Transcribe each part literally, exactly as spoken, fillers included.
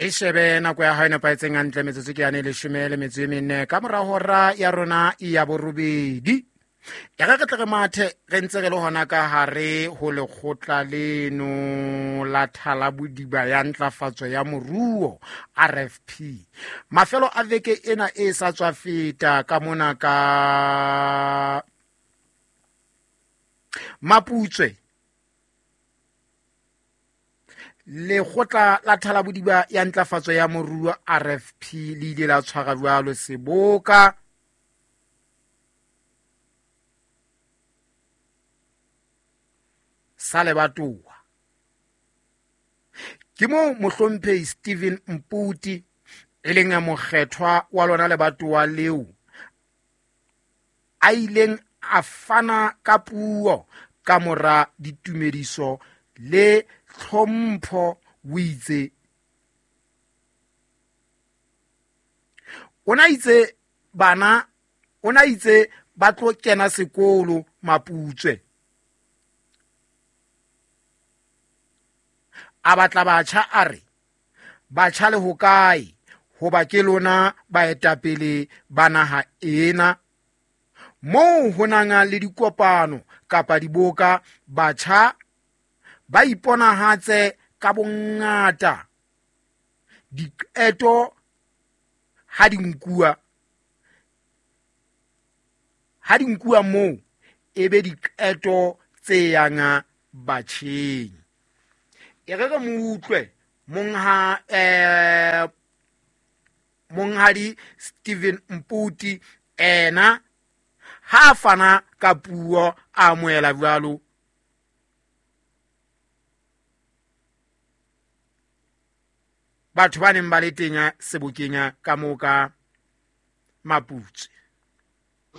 E shebe nako ya hao e nepahetseng hantle, metsotso ke yane leshome le metso e mene ka mora hora ya rona ya borobedi. E re re tle re mathe re ntse re le hona ka hare ho lekgotla leno la Thalabodiba ya Ntlafatso ya Moruo, R F P. Mafelo a veke ena e sa tswa feta ka mona ka Maputswe, lekgotla la Thalabodiba ya Ntlafatso ya Moruo R F P le ile la tshwara jwalo seboka sa lebatowa. Ke moo mohlomphehi Stephen Mputi e leng mokgethwa wa lona lebatowa leo a ileng a fana ka puo ka mora ditumediso le tlhompho. O itse o na itse bana o na itse ba tlo kena sekolo Maputswe, a batla batjha a re batjha le hokae hoba ke lona baetapele ba naha ena. Moo ho nang le dikopano kapa diboka, batjha ba iponahatse ka bongata. Diqeto ha di nkuwa ha di nkuwa moo e be diqeto tse yang batjheng. E re re mo utlwe mongha eh monghadi Stephen Mputi ena ha fana ka puo a amohela jwalo batho ba neng ba le teng sebokeng ka moo ka Maputswe.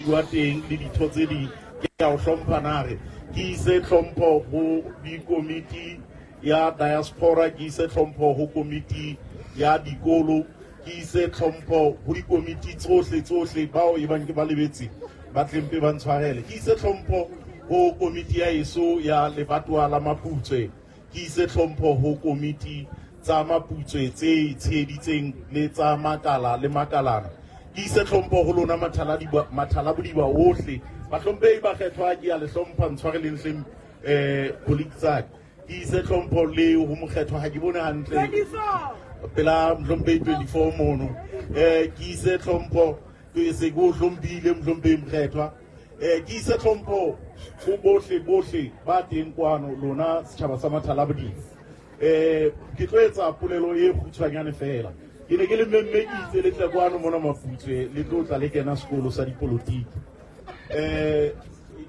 Wa teng le ditho tse ding ke a o hlompha nare ke ise tlhompho ho dikomiti ya diaspora, ke ise tlhompho ho komiti ya dikolo, ke ise tlhompho ho dikomiti tsohle tsohle bao e bang ke ba lebetse ba tlempe ba ntshwarele. Ke ise tlhompho ho komiti ya eso ya lebatowa la Maputswe, ke ise tlhompho ho komiti tsa Maputswe tse tsheheditseng le tsa makala le makalana. Ke ise tlhompho ho lona mathalabodiba ohle. Bahlomphehi bakgethwa ke a le hlompha, ntshwareleng hleng eh colleague tsaka. Ke ise tlhompho le ho mokgethwa ha ke bone hantle pela mohlomphehi twenty-four mono. Eh ke ise tlhompho ke se ke o hlomphile mohlomphehi mokgethwa. Eh ke ise tlhompho ho bohle bohle ba teng kwano lona setjhaba sa Mathalabodiba. Eh ke tlo etsa polelo e kgutshwanyane fela. Ke ne ke le mmemme ke itse le tle kwano mona Maputswe le tlo tla le kena sekolo sa dipolotiki. Eh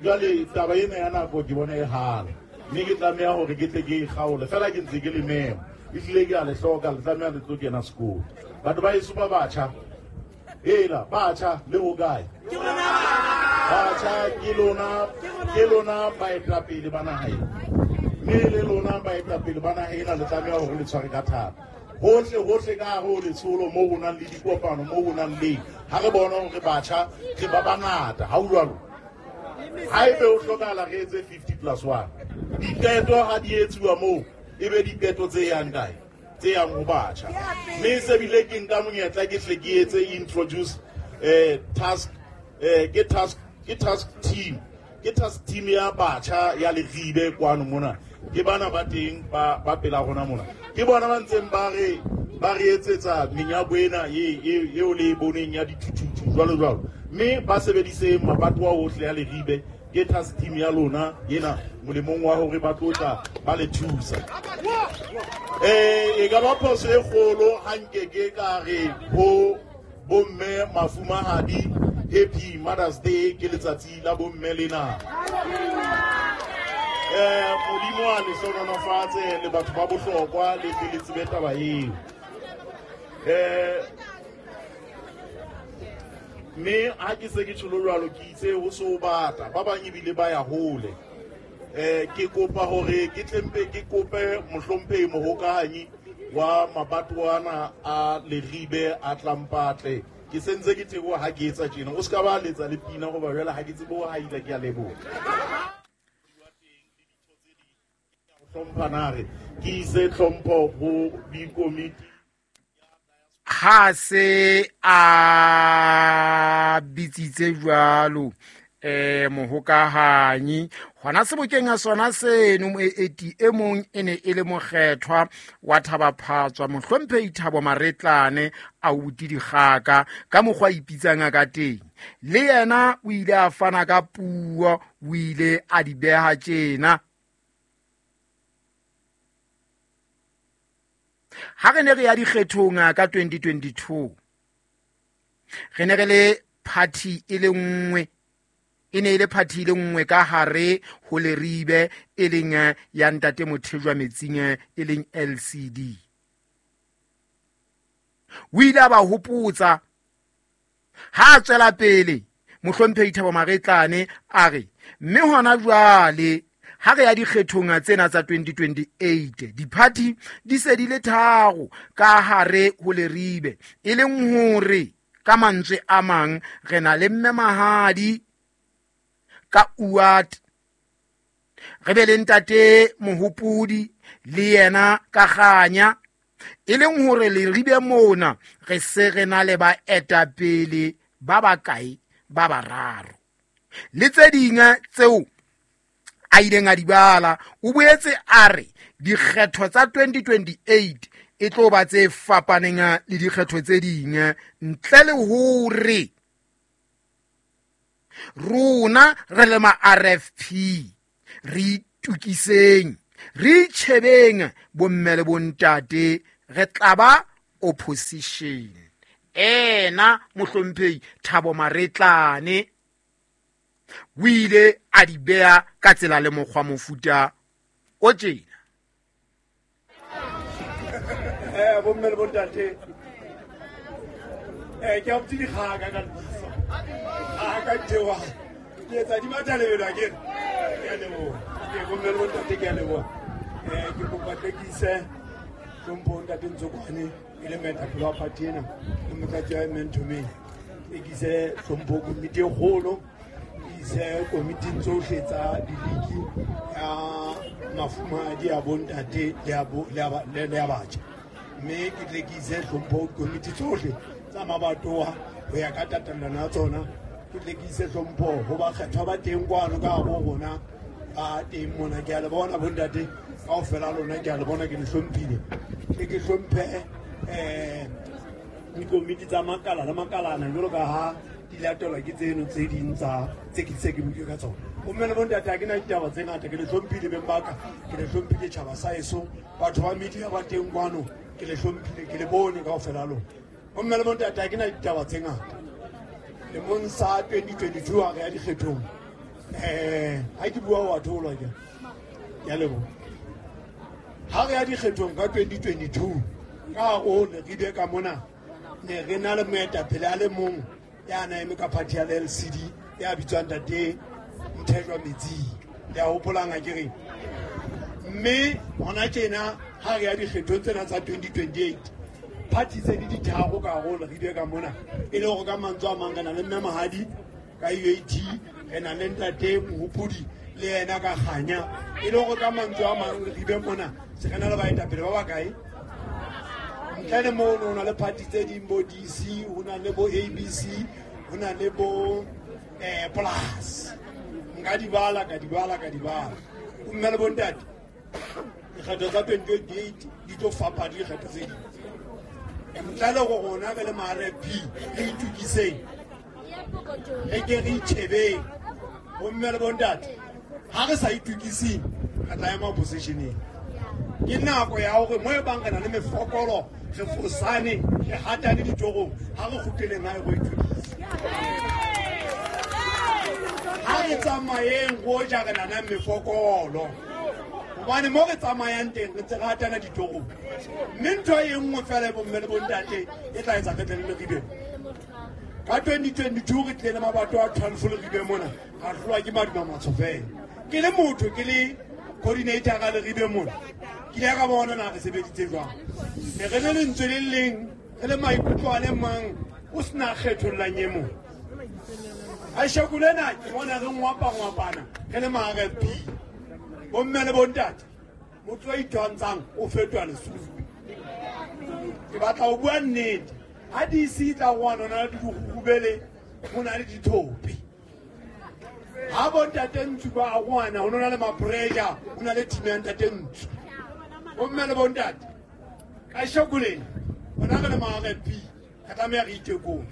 jwale taba ena ya nako ke bona e hala, mme ke tlameha hore ke tle ke e kgaole fela ke ntse ke le mema. Ehlile ke a le hloka, le tlameha le tlo kena sekolo. Batho ba heso ba batjha, ela batjha le hokae? Batjha ke lona ke lona baetapele ba naha ena, mme le lona baetapele ba naha ena le tlameha hore le tshware ka thata. Hohle hohle ka hare ho letsholo moo ho nang le dikopano, moo ho nang le ha re bona hore batjha re ba bangata, ha ho jwalo? Haebe ho hlokahala re etse fifty plus one. Diqeto ha di etsuwa moo e be diqeto tse yang kae? Tse yang ho batjha. Mme se bile ke nka monyetla ke hle ke etse introduce eh task eh ke task ke task team ke task team ya batjha ya Leribe kwano mona. Ke bana ba teng ba ba pela rona mona. Ke bona ba ntseng ba re ba re etsetsa menyako ena e eo le e boneng ya dithuthuthu jwalo jwalo. Mme ba sebedise mabatowa ohle ya Leribe. Ke task team ya lona ena molemong wa hore ba tlo tla ba le thusa. Eh e ka ba phoso e kgolo ha nke ke ka re ho bomme mafumahadi Happy Mother's Day, ke letsatsi la bomme lena. Eh Modimo a le hlohonolofatse le batho ba bohlokwa le tle le tsebe taba eo. Eh mme ha ke se ke tjholo jwalo ke itse ho so bata ba bang ebile ba ya hole. Eh ke kopa hore ke tlempe ke kope mohlomphehi mohokahanyi wa mabatowana a Leribe a Tlampatle. Ke sentse ke teboha ha ke etsa tjena. O ska ba letsa le pina hoba jwale ha ke tsebe ho haila, ke a leboha. Hlompha nare ke ise tlhompho ho dikomiti. Ha se a bitsitse jwalo eh mohokahanyi hona sebokeng a sona seno moeti e mong e ne e le mokgethwa wa Thabaphatswa mohlomphehi Thabo Maretlane a uti dikgaka ka mokgwa ipitsang ka teng. Le yena o ile a fana ka puo, o ile a di beha tjena. Ha re ne re ya dikgethong ka twenty twenty-two re ne re le party e le nngwe, e ne e le party e le nngwe ka hare ho Leribe e leng ya ntate Mothejwa Metsing e leng L C D. O ile a ba hopotsa ha a tswela pele mohlomphehi Thabo Maretlane a re mme hona jwale ha re ya dikgethong tsena tsa twenty twenty-eight di-party di se di le tharo ka hare ho Leribe, e leng hore ka mantswe a mang re na le mme Mahadi ka U A T, re be le ntate Mohopodi le yena ka Kganya, e leng hore Leribe mona re se re na le baetapele ba bakae ba bararo. Le tse ding tseo a ileng a di bala, o boetse a re dikgetho tsa twenty twenty-eight e tlo ba tse fapaneng le dikgetho tse ding, ntle le hore rona re le ma R F P re itukiseng, re itjhebeng bomme le bontate, re tla ba opposition. Ena mohlomphehi Thabo Maretlane o ile a di beha ka tsela le mokgwa mofuta o tjena. Eh bomme le bontate, eh ke a botse dikgaka ka lebitso. A ka thewa ke etsa di matha lebelo akere. Ke a leboha. Ke bomme le bontate ke a leboha. Eh ke kopa tlekise hlompho ntate Ntsokwane e le moetapele wa party ena le motlatsi wa Mentomeng. E ke ise hlompho komiti e kgolo, ke ise komiting tsohle tsa diliki ya mafumahadi a bontate le a bo le a le a batjha. Mme ke tle ke ise hlompho komiti tsohle tsa mabatowa ho ya ka tatellano ya tsona. Ke tle ke ise hlompho ho bakgethwa ba teng kwano ka bo rona ba teng mona. Ke a le bona bontate kaofela lona, ke a le bona, ke le hlomphile. Ke ke hlomphe eh dikomiti tsa makala le makalana jwalo ka ha di latelwa ke tseno tse ding tsa tse ke se ke buile ka tsona. Bomme le bontate ha ke na ditaba tse ngata, ke le hlomphile beng ba ka, ke le hlomphile tjhaba sa heso, batho ba media ba teng kwano ke le hlomphile, ke le bone kaofela lona. Bomme le bontate ha ke na ditaba tse ngata. Lemong sa twenty twenty-two ha re ya dikgethong, eh ha ke bua wa tholwa ke ke a leboha. Ha re ya dikgethong ka twenty twenty-two ka o Leribe ka mona ne re na le moetapele a le mong ya na eme ka party ya L C D ya bitswang ntate Mothejwa Metsing. Le a hopolang ha ke reng? Mme hona tjena ha re ya dikgethong tsena tsa twenty twenty-eight party tse di ditharo ka hare ho Leribe ka mona, e le hore ka mantswe a mang re na le mme Mahadi ka U A T, re na le ntate Mohopodi le yena ka Kganya, e le hore ka mantswe a mang Leribe mona se re na le baetapele ba bakae. Ntle le mono ho na le party tse ding bo D C, ho na le bo A B C, ho na le bo eh Plus. Nka di bala ka di bala ka di bala. Mme le bontate dikgetho tsa twenty twenty-eight di tlo fapana le dikgetho tse ding. Ntle le go rona re le ma R F P re itukiseng, re ke re itjhebeng. Bomme le bontate ha re sa itukiseng re tla ema oppositioneng. Ke nako ya hore mo e bang re na le mefokolo, re fosane, re hatane ditorong, ha re kgutleleng hae go itukisa. Ha re tsamayeng go ja re na le mefokolo, hobane mo re tsamayang teng re ntse re hatana ditorong. Mme ntho e nngwe fela bomme le bontate e tla etsa re tle le Leribe. Ka twenty twenty-two re tlile le mabato a twelve Leribe mona, ra hlolwa ke maduma matsho fela. Ke le motho, ke le coordinator ka Leribe mona, ke ile ka bona na re sebeditse jwang. Ne re le lentswe le leng, re le maikutlo a le mang, o sena kgethollang e mong. Kasheko lena ke bona re ngwapa-ngwapana re le ma R F P. Bomme le bontate, motho a itwantshang o fetoha lesupi. Ke batla ho bua nnete. Ha D C tla ngwana na le dikgubele ho na le dithope. Ha bontate Ntsu ba ngwana ho na le mapressure, ho na le team ya ntate Ntsu. Bomme le bontate ka shokuleng bona re le ma R P ka tlameha re itekong.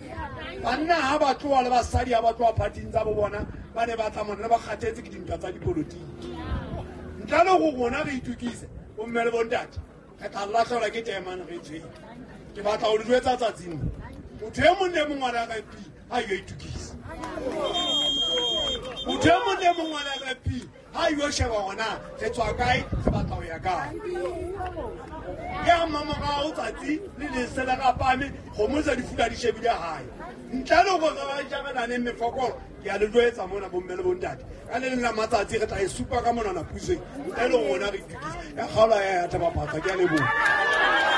Banna ha ba tloha le basadi ha ba tloha partyng tsa bo bona ba ne ba tla mona ba kgathetse ke dintwa tsa dipolotiki. Ntle le go rona re itukise bomme le bontate re tla lahlehelwa ke temane re tshwere. Ke batla ho le jwetsa tsatsing motho e mong le mong wa R P ha yo itukise. Motho e mong le mong wa R P ha yo sheba hona re tswa kae re batla ho ya kae. Ya mamorao tsatsi le lesela rapame kgomo tsa difula di shebile hae. Ntle le hore ba jabelaneng mefokolo ke a le jwetsa mona bomme le bontate ka le leng la matsatsi re tla e supa ka monana pusong ntle le rona re itukise. Ya kgaola ya ya thaba phatsa ke a leboha.